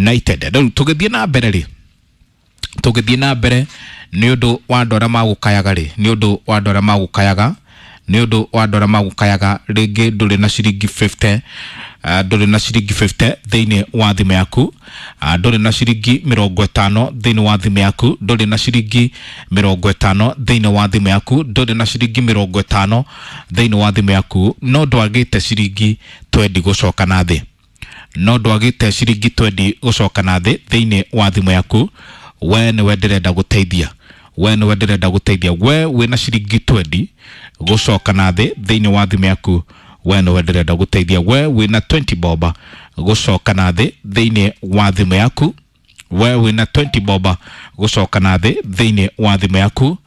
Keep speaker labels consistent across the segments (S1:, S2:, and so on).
S1: United. Rĩu tũgĩthiĩ na mbere rĩ, tũgĩthiĩ na mbere nĩ ũndũ wa andũ arĩa magũkayaga rĩ, nĩ ũndũ wa andũ arĩa magũkayaga, nĩ ũndũ wa andũ arĩa magũkayaga rĩngĩ ndũrĩ na ciringi 50, ndũrĩ na ciringi 50 thĩinĩ wa thimũ yaku, ndũrĩ na ciringi 50 thĩinĩ wa thimũ yaku, ndũrĩ na ciringi 50 thĩinĩ wa thimũ yaku, ndũrĩ na ciringi 50 thĩinĩ wa thimũ yaku, no ndwagĩte ciringi 20 gũcoka na thĩ, no ndwagĩte ciringi 20 gũcoka na thĩ thĩinĩ wa thimũ yaku. We nĩwe ndĩrenda gũteithia, we nĩwe ndĩrenda gũteithia, we wĩna ciringi 20 gũcoka na thĩ thĩinĩ wa thimũ yaku, we nĩwe ndĩrenda gũteithia, we wĩna 20 boba gũcoka na thĩ thĩinĩ wa thimũ yaku, we wĩna 20 boba gũcoka na thĩ thĩinĩ wa thimũ yaku,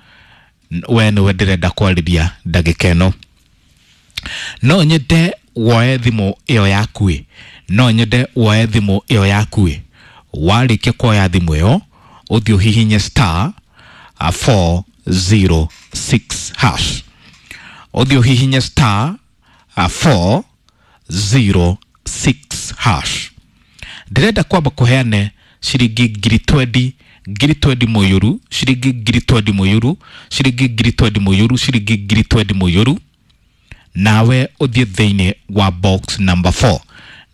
S1: we nĩwe ndĩrenda kwarĩria ndagĩka ĩno. No nyende woe thimũ ĩyo yaku ĩ, no nyende woe thimũ ĩyo yaku ĩ, warĩkia kuoya thimũ ĩyo ũthiĩ ũhihinye star 406 hash, ũthiĩ ũhihinye star 406 hash. Ndĩrenda kwamba kũheane ciringi ngiri 20, ngiri 20 mũyũru, ciringi ngiri 20 mũyũru, ciringi ngiri 20 mũyũru, ciringi ngiri 20 mũyũru, nawe ũthiĩ thĩinĩ wa box number 4,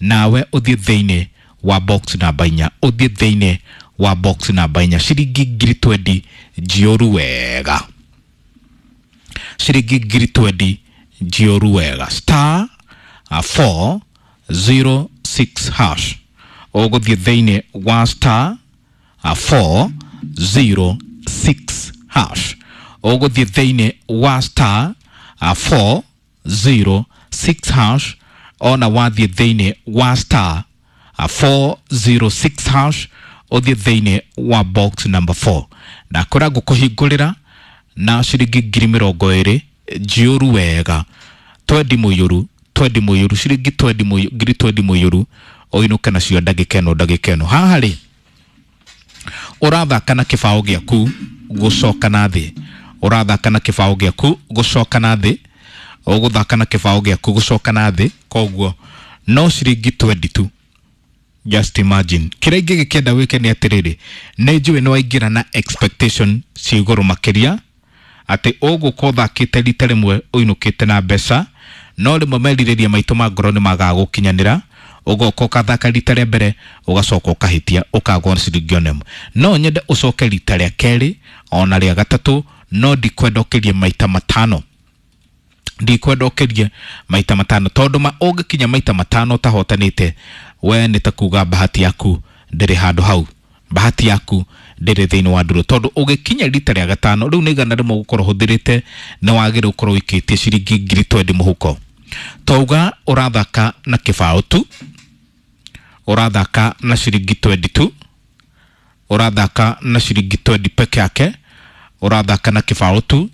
S1: nawe ũthiĩ thĩinĩ wa box namba 4, ũthiĩ thĩinĩ wa box namba 4, ciringi ngiri 20 njiyũru wega, ciringi ngiri 20 njiyũru wega, star 406 hash, ũgũthiĩ thĩinĩ wa star 406 hash, ũgũthiĩ thĩinĩ wa star 406 hash, ona wathiĩ thĩinĩ wa star 406 hash, ũthiĩ thĩinĩ wa box number 4, na kũrĩa ngũkũhingũrĩra na ciringi ngiri 20 njiyũru wega, 20 mũiyũru, 20 mũiyũru, ciringi 20 mũiyũru, ngiri 20 mũiyũru, ũinũke nacio ndagĩka ĩno, ndagĩka ĩno. Haha rĩ, ũrathaka na kĩbaũ gĩaku gũcoka na thĩ, ũrathaka na kĩbaũ gĩaku gũcoka na thĩ, ũgũthaka na kĩbaũ gĩaku gũcoka na thĩ, koguo no ciringi 20 tu. Just imagine. Kĩrĩa ingĩgĩkĩenda wĩke nĩ atĩrĩrĩ, nĩ njũĩ nĩ waingĩra na expectation ci igũrũ makĩria, atĩ ũgũka ũthakĩte rita rĩmwe ũinũkĩte na mbeca, no rĩmwe merirĩria maitũ ma ngoro nĩ magaga gũkinyanĩra, ũgoka ũkathaka rita rĩa mbere ũgacoka ũkahĩtia ũkagwo ciringi ona ĩmwe. No nyende ũcoke rita rĩa kerĩ ona rĩa gatatũ, no ndikwenda ũkĩrie maita matano, ndikwenda ũkĩrie maita matano, tondũ ma ũngĩkinya maita matano ũtahotanĩte, we nĩ ta kuga bahati yaku ndĩrĩ handũ hau, bahati yaku ndĩrĩ thĩinĩ wa ndũrũ, tondũ ũgĩkinya rita rĩa gatano rĩu nĩ 100 ũgũkorwo ũhũthĩrĩte, nĩ wagĩrĩirwo ũkorwo ũikĩtie ciringi ngiri 20 mũhuko. Twauga ũrathaka na kĩbaũ tu, ũrathaka na ciringi 20 tu, ũrathaka na ciringi 20 peke yake, ũrathaka na kĩbaũ tu,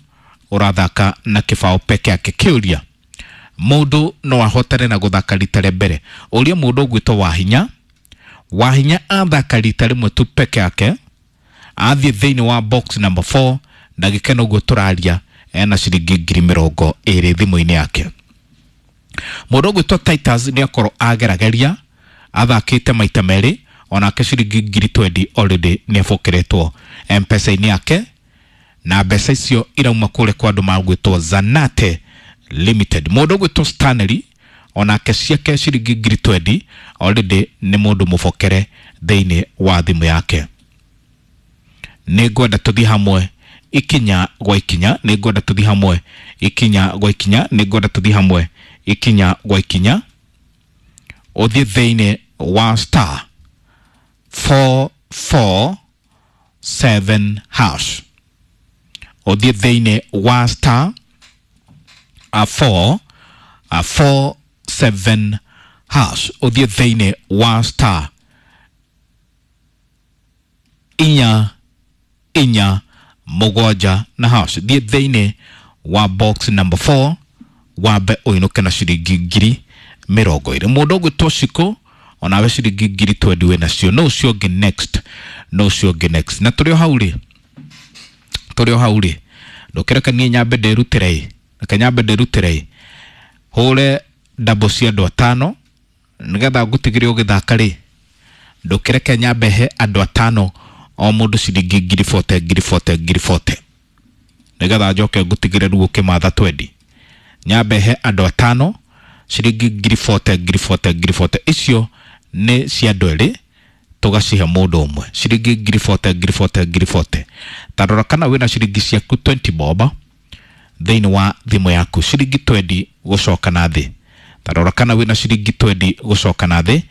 S1: ũrathaka na kĩbaũ peke yake. Kĩũria, mũndũ no ahotane na gũthaka rita rĩa mbere? Ũria mũndũ ũgwĩtwo Wahinya, Wahinya athaka rita rĩmwe tu peke yake, athiĩ thĩinĩ wa box number 4, ndagĩka ĩno ũguo tũraria ena ciringi ngiri 20 thimũ-inĩ yake. Mũndũ ũgwĩtwo Titus nĩ akorwo agerageria, athakĩte maita merĩ, onake ciringi ngiri 20 already nĩ abokeretwo M-Pesa-inĩ yake, na mbeca icio irauma kũrĩa kwa andũ magwĩtwo Zanate Limited. Mũndũ ũgwĩtwo Stanley onake ciake ciringi ngiri 20 already nĩ mũndũ mũbokere thĩinĩ wa thimũ yake. Nĩ ngwenda tũthiĩ hamwe ikinya gwa ikinya, nĩ ngwenda tũthiĩ hamwe ikinya gwa ikinya, nĩ ngwenda tũthiĩ hamwe ikinya gwa ikinya, ũthiĩ thĩinĩ wa star 447 hash, ũthiĩ thĩinĩ wa star 4 47 hash, ũthiĩ thĩinĩ wa star 4 4 7 na hash, thiĩ thĩinĩ wa box number 4, wambe ũinũke na ciringi ngiri 20. Mũndũ ũgwĩtwo Shiko onawe ciringi ngiri 20 wĩ nacio, no ũcio ũngĩ next, no ũcio ũngĩ next. Na tũrĩ o hau rĩ, tũrĩ o hau rĩ, ndũkĩreke niĩ nyambe ndĩrutĩre ĩ, reke nyambe ndĩrutĩre ĩ, hũre ndambo cia andũ atano nĩgetha ngũtigĩre ũgĩthaka rĩ, Ndũkĩreke nyambe he andũ atano o mũndũ ciringi ngiri bote ngiri bote ngiri bote, nĩgetha njoke ngũtigĩre rĩu ũkĩmatha twendi. Nyambe he andũ atano ciringi ngiri bote ngiri bote ngiri bote, icio nĩ cia andũ erĩ tũgacihe mũndũ ũmwe ciringi ngiri bote ngiri bote ngiri bote. Ta rora kana wĩna ciringi ciaku 20 bob thĩinĩ wa thimũ yaku, ciringi 20 gũcoka na thĩ. Ta rora kana wĩna ciringi 20 gũcoka na thĩ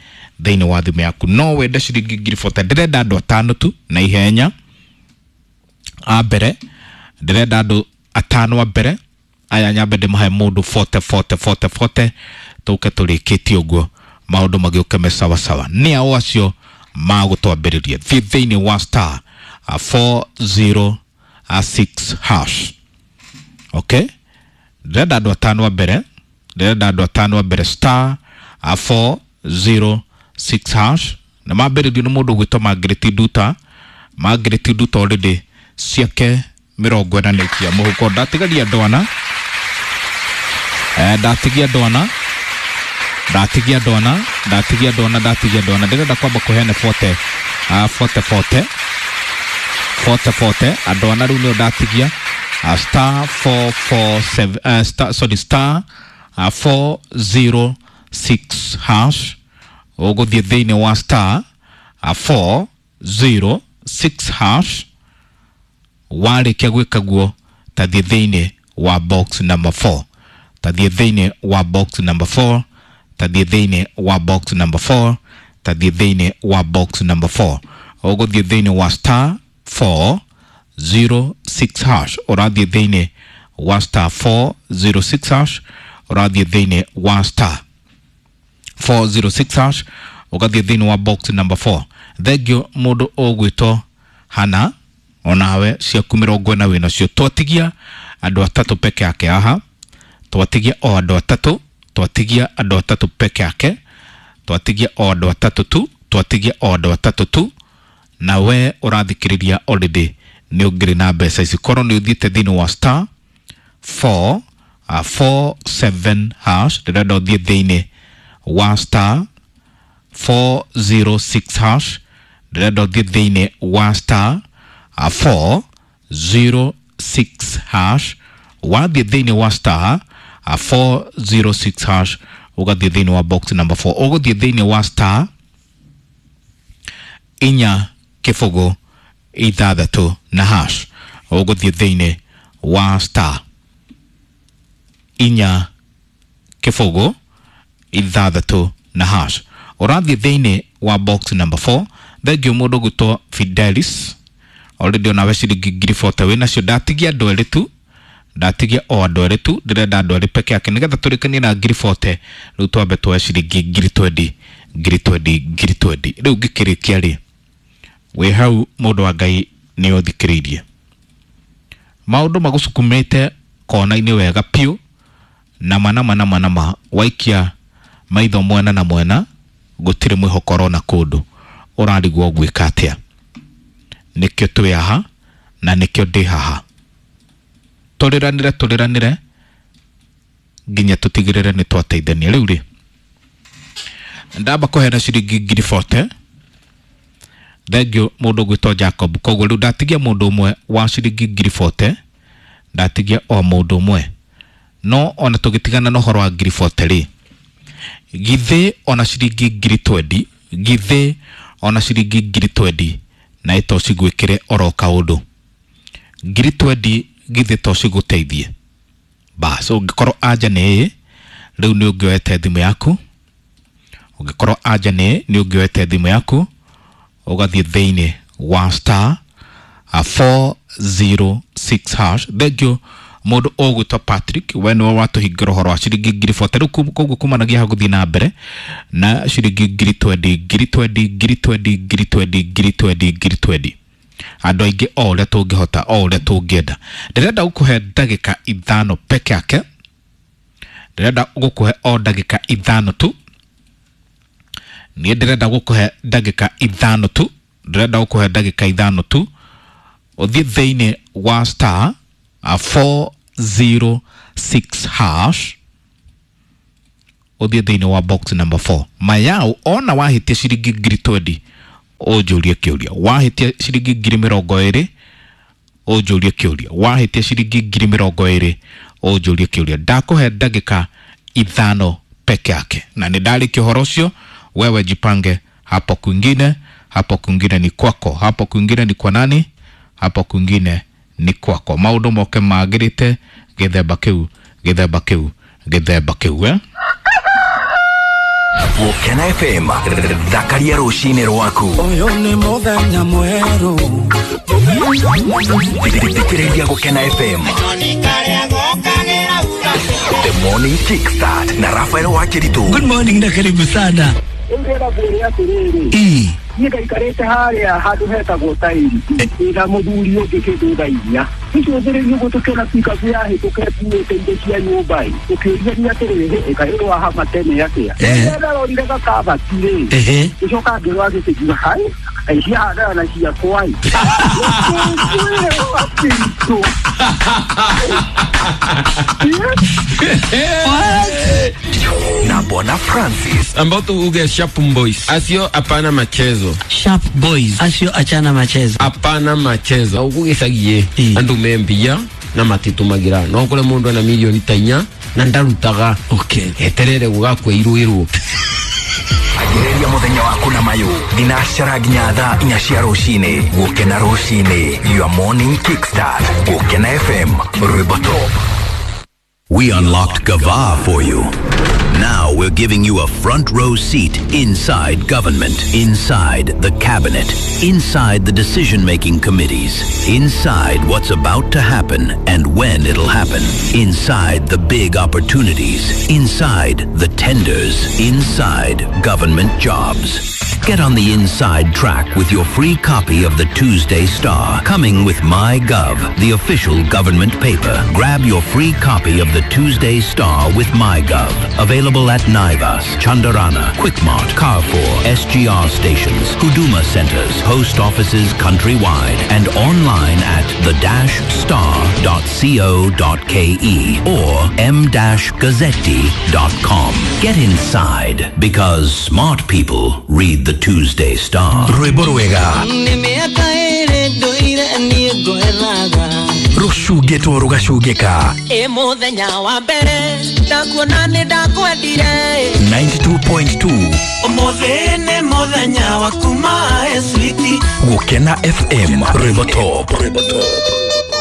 S1: thĩinĩ wa thimũ yaku. No wende ciringi ngiri bote. Ndĩrenda andũ atano tu na ihenya a mbere, ndĩrenda andũ atano a mbere aya nyambe ndĩmahe mũndũ bote bote bote bote, tũke tũrĩkĩtie ũguo maũndũ magĩũke me sawa sawa. Nĩ ao acio magũtwambĩrĩria. Thiĩ thĩinĩ wa star 406 hash. Okay, ndĩrenda andũ atano a mbere, ndĩrenda andũ atano a mbere, star 406 hash. Na mambĩrĩrio nĩ mũndũ ũgwĩtwo Margaret Nduta. Margaret Nduta already ciake 40 nĩ ikia mũhuko. Ndatigaria andũ ana, ndatigia andũ ana, ndatigia andũ ana, ndatigia andũ ana, ndatigia andũ ana. Ndĩrenda kwamba kũheana bote bote bote bote bote andũ ana rĩu nĩo ndatigia. Star 447 star, sorry, star 406 hash. Ũgũthiĩ thĩinĩ wa star 406 hash. Warĩkia gwĩka guo, tathiĩ thĩinĩ wa box number 4, tathiĩ thĩinĩ wa box number 4, tathiĩ thĩinĩ wa box number 4, tathiĩ thĩinĩ wa box number 4. Ũgũthiĩ thĩinĩ wa star 406 hash, ũrathiĩ thĩinĩ wa star 406 hash, ũrathiĩ thĩinĩ wa star 406 hash, ũgathiĩ thĩinĩ wa box number 4. Thengio mũndũ ũgwĩtwo Hana, onawe ciaku 40 wĩnacio. Twatigia andũ atatũ peke yake haha, twatigia o andũ atatũ, twatigia andũ atatũ peke yake, twatigia o andũ atatũ tu, twatigia o andũ atatũ tu. Na we ũrathikĩrĩria already nĩ ũngĩrĩ na mbeca ici korwo nĩ ũthiĩte thĩinĩ wa star 4 47 hash. Ndĩrenda ũthiĩ thĩinĩ wa star 406 hash, ndĩrenda ũthiĩ thĩinĩ wa star 406 hash. Wathiĩ thĩinĩ wa star 406 hash, ũgathiĩ thĩinĩ wa box number 4, ũgũthiĩ thĩinĩ wa star 4 0 6 na hash. Ũgũthiĩ thĩinĩ wa star 4 0 6 na hash, ũrathiĩ thĩinĩ wa box number 4. Thengio mũndũ ũgwĩtwo Fidelis, already onawe ciringi ngiri bote wĩnacio. Ndatigia andũ erĩ tu, ndatigia o andũ erĩ tu, ndĩrenda andũ erĩ peke yake nĩgetha tũrĩkanie na ngiri bote. Rĩu twambe tuoe ciringi ngiri twendi ngiri twendi ngiri twendi. Rĩu ngĩkĩrĩkia rĩ, wĩ hau mũndũ wa Ngai nĩ ũthikĩrĩirie maũndũ magũcukumĩte kona-inĩ wega piũ, na ma na ma na ma na ma, waikia maitho mwena na mwena gũtirĩ mwĩhoko ũrona kũndũ, ũrarigwo gwĩka atĩa. Nĩkĩo twĩ haha na nĩkĩo ndĩ haha, tũrĩranĩre tũrĩranĩre nginya tũtigĩrĩre nĩ twateithania. Rĩu rĩ, ndamba kũheana ciringi ngiri bote. Thengio mũndũ ũgwĩtwo Jacob. Koguo rĩu ndatigia mũndũ ũmwe wa ciringi ngiri bote, ndatigia o mũndũ ũmwe. No ona tũgĩtigana na ũhoro wa ngiri bote rĩ, githĩ ona ciringi ngiri twendi, githĩ ona ciringi ngiri twendi na ĩto cigwĩkĩre oro kaũndũ, ngiri twendi githĩ to cigũteithie? Bas, ũngĩkorwo anja nĩ ĩĩ, rĩu nĩ ũngĩoete thimũ yaku. Ũngĩkorwo anja nĩ ĩĩ, nĩ ũngĩoete thimũ yaku ũgathiĩ thĩinĩ wa star 406 hash. Thengio mũndũ ũgwĩtwo Patrick, we nĩwe watũhingĩra ũhoro wa ciringi ngiri bote. Rĩu koguo kumanagia hau gũthiĩ na mbere na ciringi ngiri twendi ngiri twendi ngiri twendi ngiri twendi ngiri twendi ngiri twendi, andũ aingĩ o ũrĩa tũngĩhota, o ũrĩa tũngĩenda. Ndĩrenda gũkũhe ndagĩka 5 peke yake, ndĩrenda gũkũhe o ndagĩka 5 tu. Niĩ ndĩrenda gũkũhe ndagĩka 5 tu, ndĩrenda gũkũhe ndagĩka 5 tu ũthiĩ thĩinĩ wa star 406 hash, ũthiĩ thĩinĩ wa box number 4. Mayau ona wahĩtia ciringi ngiri twendi Ũnjũrie kĩũria. Wahĩtia ciringi 20,000 ũnjũrie kĩũria. Wahĩtia ciringi 20,000 ũnjũrie kĩũria. Ndakũhe ndagĩka 5 peke yake, na nĩ ndarĩkia ũhoro ũcio. Wewe jipange hapo kwingine, hapo kwingine ni kwako, hapo kwingine ni kwa nani, hapo kwingine ni kwako. Maũndũ moke magĩrĩte gĩthemba kĩu, gĩthemba kĩu, gĩthemba kĩu, eh?
S2: Gũkena FM, thakaria rũcinĩ rwaku.
S3: Ũyũ nĩ mũthenya mwerũ.
S2: Thikĩrĩria Gũkena FM. The Morning Kickstart na Rafael Wakiritu.
S3: Good morning na karibu sana.
S4: Ndĩrenda ngwĩre atĩrĩrĩ, niĩ ngaikarĩte harĩa handũ hetagwo tairi na mũthuri ũngĩ kĩndũ thaa 4 tũcũthĩrĩrie ũguo tũkĩona pikabu yahĩtũka ĩkuĩte indo cia nyũmba ĩ, tũkĩũria atĩrĩrĩ, ĩkaĩ wahama tene atĩa? Ndarorire gakabati rĩ, gĩcoka ngĩrora gĩkĩngiuga hai ciahandana na ciakwa ĩ. Ngĩkwĩra
S2: Na Bwana Francis.
S5: Ambao tuuge Sharp Boys. Asio hapana machezo.
S3: Sharp Boys. Asio achana machezo.
S5: Hapana machezo. Ugugicagie andu membia na matitumagira. No kure mundu ana milioni ta 4 na ndarutaga.
S3: Okay.
S5: Eterere gugakwa iruirwo.
S2: Agĩrĩria mũthenya waku na mayũ thinacara nginya thaa 4 cia rũcinĩ. Gũkena rũcinĩ, your morning kickstart. Gũkena FM, rwĩmbo top.
S6: We unlocked Gava for you. Now we're giving you a front row seat inside government, inside the cabinet, inside the decision-making committees, inside what's about to happen and when it'll happen, inside the big opportunities, inside the tenders, inside government jobs. Get on the inside track with your free copy of the Tuesday Star, coming with MyGov, the official government paper. Grab your free copy of the Tuesday Star with MyGov. Available at Naivas, Chandarana, Quickmart, Carrefour, SGR stations, Huduma centers, post offices countrywide, and online at the-star.co.ke or m-gazzetti.com. Get inside, because smart people read the Tuesday Star.
S2: Rwĩmbo rwega rũcungĩtwo rũgacungĩka.
S7: Mũthenya wa mbere ndakuona nĩ ndakwendire.
S2: 92.2
S3: Ũmũthĩ nĩ mũthenya wa kuma switi.
S2: Gũkena FM, rwĩmbo top.